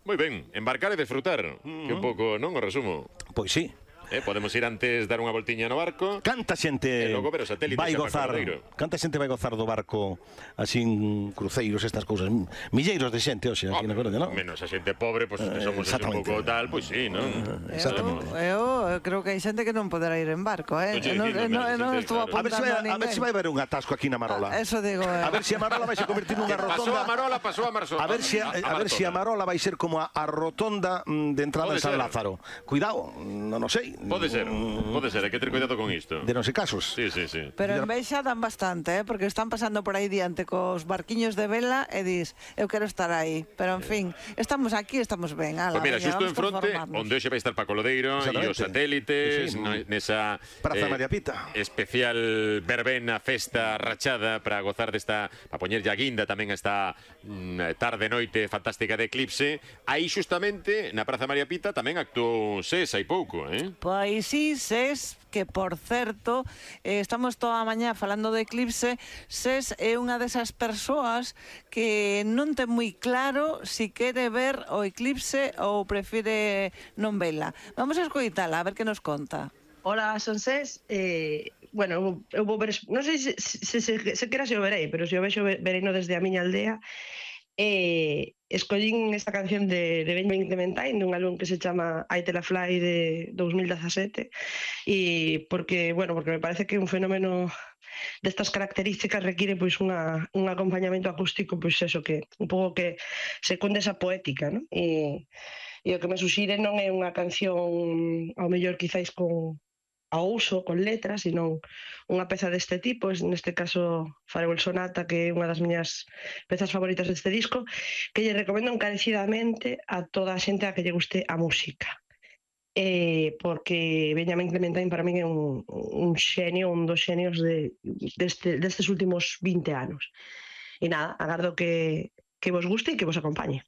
Moi ben, embarcar e desfrutar, que un pouco, non, o resumo. Pois sí. Podemos ir antes dar unha voltiña no barco. Canta xente E logo ver os satélites vai xa gozar, para Corodeiro. canta xente vai gozar do barco así en cruceiros, estas cousas. Milleiros de xente hoxe aquí na Coruña, non? Menos a xente pobre, pois que somos un pouco tal, pois sí, non? Exactamente. Eu creo que hai xente que non poderá ir en barco, non estou apuntando a ninguén. A ver se vai haber un atasco aquí na Marola. Eso digo. A ver se a Marola vai se convertir nunha Pasou rotonda. a Marola, pasou a Marzo. A ver se a Marola vai ser como a rotonda de entrada Pode en San ser. Lázaro. Cuidado, non o sei. Pode ser, hai que ter cuidado con isto. De non se casos. Sí. Pero en Beixa dan bastante, porque están pasando por aí diante cos barquiños de vela e dis, eu quero estar aí. Pero, en fin, estamos aquí, estamos ben. Pois mira, xusto en fronte, onde hoxe vai estar Paco Lodeiro e os satélites, nesa Praza María Pita. Especial verbena, festa rachada para gozar desta, para poñer a guinda tamén esta tarde-noite fantástica de eclipse. Aí xustamente, na Praza María Pita, tamén actuou SES hai pouco, Pois sí, SES, que por certo, estamos toda a mañá falando de eclipse. SES é unha desas persoas que non ten moi claro si quere ver o eclipse ou prefire non vela. Vamos a escoitala, a ver que nos conta. Hola, son SES. Bueno, eu vou ver, non sei se quera se o verei, pero se o vexo vereino desde a miña aldea. Escollín esta canción de Benjamin Clementine, dun álbum que se chama I Tell a Fly de 2017, e porque me parece que un fenómeno destas características require pois un acompañamento acústico, pois eso, que un pouco que se conde esa poética, non? E o que me suxire non é unha canción ao mellor quizáis ao uso, con letras, sino unha peza deste tipo, neste caso Farewell Sonata, que é unha das miñas pezas favoritas deste disco, que lle recomendo encarecidamente a toda a xente a que lle guste a música. Porque Benjamin Clementine para min é un xenio, un dos xenios destes últimos 20 anos. E nada, agardo que vos guste e que vos acompañe.